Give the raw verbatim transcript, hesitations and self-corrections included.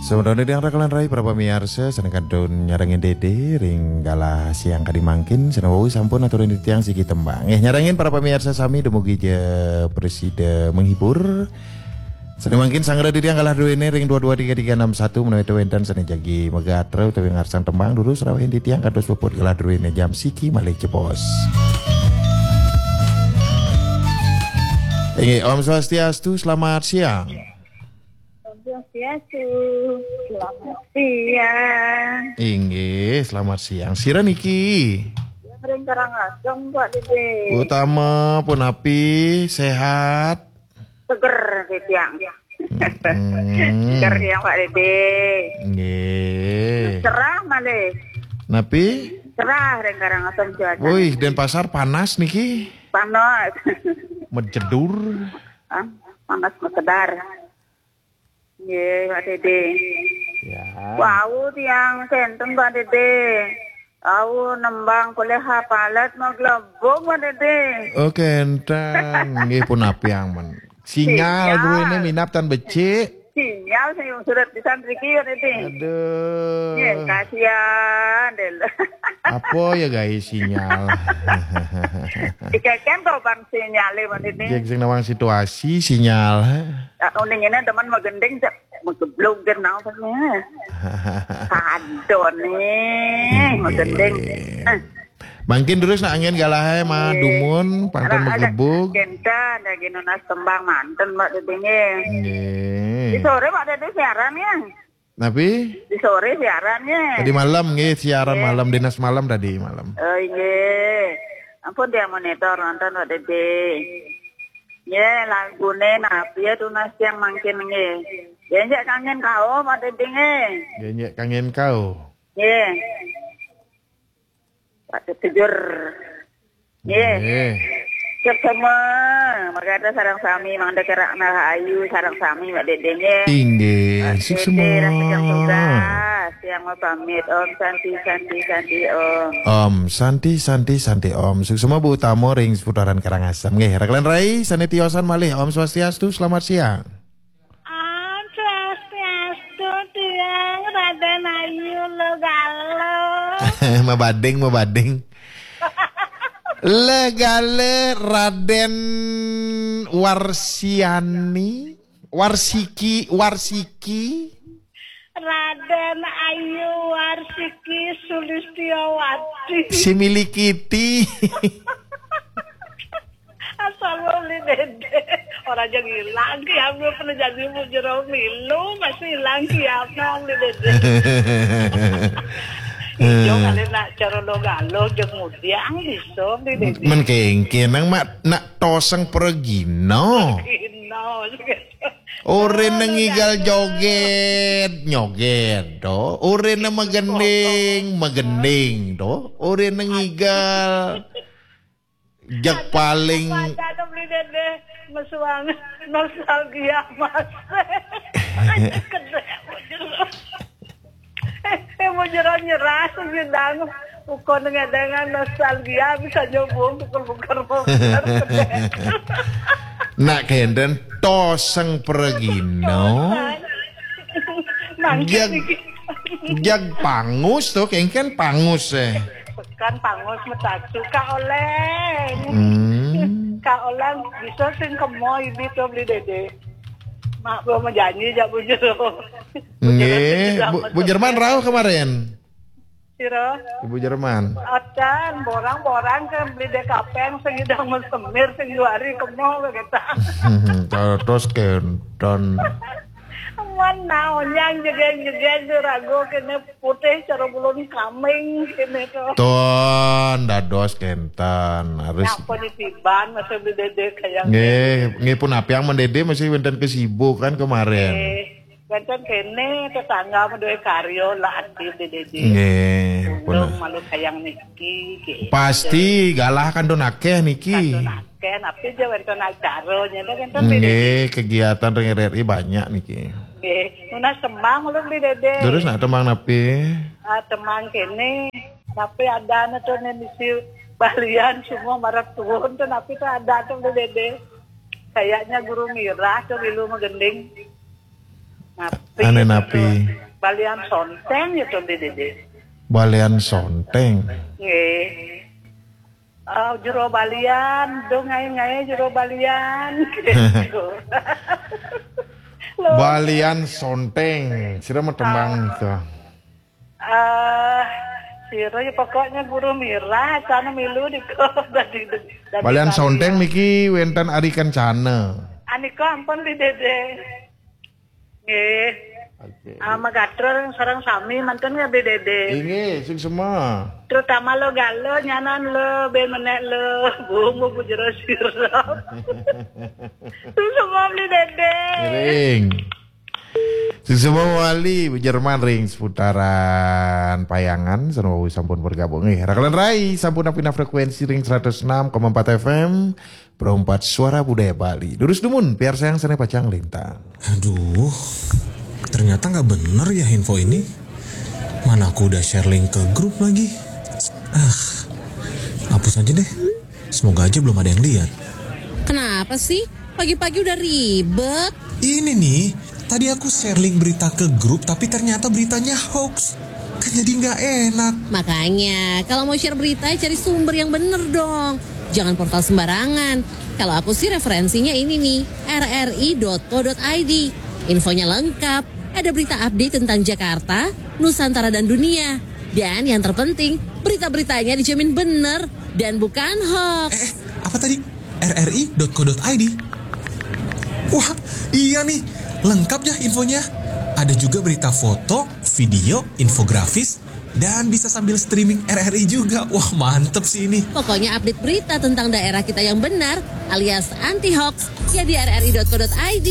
Sementara di angka kalan rai para pamiarsa, sané kantun nyarengin Dédé ring galah siang kadi mangkin, sané wau sampun aturin titiang siki tembang. Eh, nyarengin para pamiarsa sami dumugi ja prasida menghibur. Sané mangkin sanggra titiang galah druéné ring dua dua tiga tiga enam satu, menawi wénten sané jagi magatra utawi ngarsang tembang, durus rawahin titiang kados puput galah druéné jam siki malih jebos. Inggih, Om Swastiastu, selamat siang. Om Swastiastu. Selamat siang. Inggih, selamat siang. Sira niki? Ring Karangasem, Pak Dédé. Utama punapi, sehat? Seger, titiang. Hmm. Seger, tiang, Pak Dédé. Nggih. Cerah malih. Napi? Cerah ring Karangasem cuaca. Wih, Denpasar panas niki. Panas. Mejedur. Ah, panas mekedar. Nggih, Pak Dédé. Ya. Wau tiang kénten, Pak Dédé. Wau nembang polih hafalat maglebung, Pak Dédé. Oh, kénten. Nggih, punapi ampun. Sinyal. Sinyal. Dulu ini minab tan becik. Sinyal sing surat pisan riki, Pak Dédé. Aduh. Nggih, kasihan, Dédé. Apa ya, guys, sinyal? Dikeken kok, Bang, sinyalé, Pak Dédé. Nggih, sing nawang situasi, sinyal. Ah, uning ini teman magending, cek mageblug genang, Pak, nih. Kadon nih, magending. Nggih. Eh. Mangkin terus nak angin galahé mah. Nggih. Dumun, pantun. Ora ada maglebug. Kénten, lagi nunas tembang manten, Pak Dédé, nggih. Nggih. Di sore, Pak Dédé, siaran, ya? Napi? Di sore siaran, ya? Tadi malam, nggih, siaran. Nggih. Malam, dinas malam tadi malam. Oh, nggih. Ampun, dia monitor nonton, Pak Dédé. Nggih, laguné napi ya tunas tiang mangkin, nggih. Genjek kangen kau, Pak Dédé, nggih. Genjek kangen kau. Nggih. Pak Tujur. Nggih. Nggih. Suksma, mangda sareng sami, mangda kerak nah ayu, sareng sami, Mbak Dédé, nggih. Inggih, Mbak Dédé, suksma. Rasa yang tugas, yang mau pamit. Om Santi, Santi, Santi, Om. Om Santi, Santi, Santi, Om. Suksma Bu Utama ring seputaran Karangasem. Nggih, rekan rai, sané tiosan malih. Om Swastiastu, selamat siang. Om Swastiastu, tiang Raden Ayu Logalo. Mabading, mabading. Legale Raden Warsiani, Warsiki, Warsiki. Raden Ayu Warsiki Sulistiawati. Si milikiti. Asal Beli Dédé. Orang aja ngilang, ya, belum pernah jadi mujero milu, masih hilang, ya, Beli Dédé. Ijo kali nak cara lo galo, jeung mudiang, bisa, Beli Dédé. Men kéngkén, nang mak, nak toseng pergino. Pergino, gitu. Ora nang ngigal joget, nyoget, to. Ora nang magending, magending, to. Ora nang ngigal. Jak paling. Pada to, Beli Dédé, mesuang nostalgia, Mas. Kedek, bujur. Eh, eh, bujur nyerah, sedang. Uko dengan nostalgia bisa nyobong, pukul-pukul, pukul. Nak kénten toseng pergino. Mangkit. Jag, iki. Jag pangus to, kéngkén pangus, eh. Kan pangus metacu, Kak Oleng. Hmm. Kak Oleng, bisa sing kemo ini to, Beli Dédé. Mak, gua mau janji, jak bujur. Nggih, Bu, Bu Jerman rauh kemarin. Sira? Ibu Jerman. Acan, borang-borang kan Beli Dédé kapeng, sing idang mesemir, sing juari kemo, begitu. Terus kénten. Mana onyang jegen-jegen, rago kene putih, cara bulun kaming, kene to. Ton, dados kénten. Harus. Napa ni tiban, masa Beli Dédé kayak. Nggih, nggih punapi, Mbak Dédé masih wénten kesibukan kemarin. Eh, Wénten kéné tetangga madué karya lah aktif di Dédé. Nggih, pun. Malu sayang niki, nggih. Pasti galah kantun akéh niki. Kantun akéh, napi ja wénten acara, nyén wénten di Dédé. Nggih, kegiatan ring R R I banyak niki. Nggih, nunas tembang ulun di Dédé. Terus nak tembang napi? Ah, tembang kéné, napi adané to né misi balian semua maret tuun to, napi to ada to di Dédé. Kayaknya Guru Mirah to, Rilu Magending. Nah, Anu napi? Balian sonteng ya tuh Bli Dede. Balian sonteng. Nggih. Ah, jero balian, dong ngaé-ngaé jero balian. Gitu. Loh, Balian sonteng. Sira mah tembang tuh. ah, sira ya pokoknya guru mirah, sana milu di dadi, dadi Balian sonteng niki wénten Ari Kencana. Anika ampun Bli Dede. Nggih. Oke. Ah, magatra sareng sami mantun ya Bli Dede. Inggih, sing semua. Terutama lo galo nyanan lo ben menek lo bumbu bujero sirop. Terus semua Bli Dede. Ring. Sing semua wali Jerman ring seputaran Payangan, sareng sampun bergabung. Eh, rakelan rai sampun napina frekuensi ring seratus enam koma empat F M, Pro empat Suara Budaya Bali. Durus dumun, piarsayang sané pacang lintang. Aduh, ternyata nggak bener ya info ini. Mana aku udah share link ke grup lagi. Ah, hapus aja deh. Semoga aja belum ada yang lihat. Kenapa sih? Pagi-pagi udah ribet. Ini nih, tadi aku share link berita ke grup tapi ternyata beritanya hoax. Kan jadi nggak enak. Makanya, kalau mau share berita, cari sumber yang bener dong. Jangan portal sembarangan. Kalau aku sih referensinya ini nih, R R I dot co dot I D. Infonya lengkap. Ada berita update tentang Jakarta, Nusantara dan dunia. Dan yang terpenting, berita-beritanya dijamin bener dan bukan hoax. Eh, apa tadi? R R I dot co dot I D. Wah, iya nih, lengkap ya infonya. Ada juga berita foto, video, infografis, dan bisa sambil streaming R R I juga. Wah, mantep sih ini. Pokoknya update berita tentang daerah kita yang benar alias anti hoax ya di R R I dot co dot I D.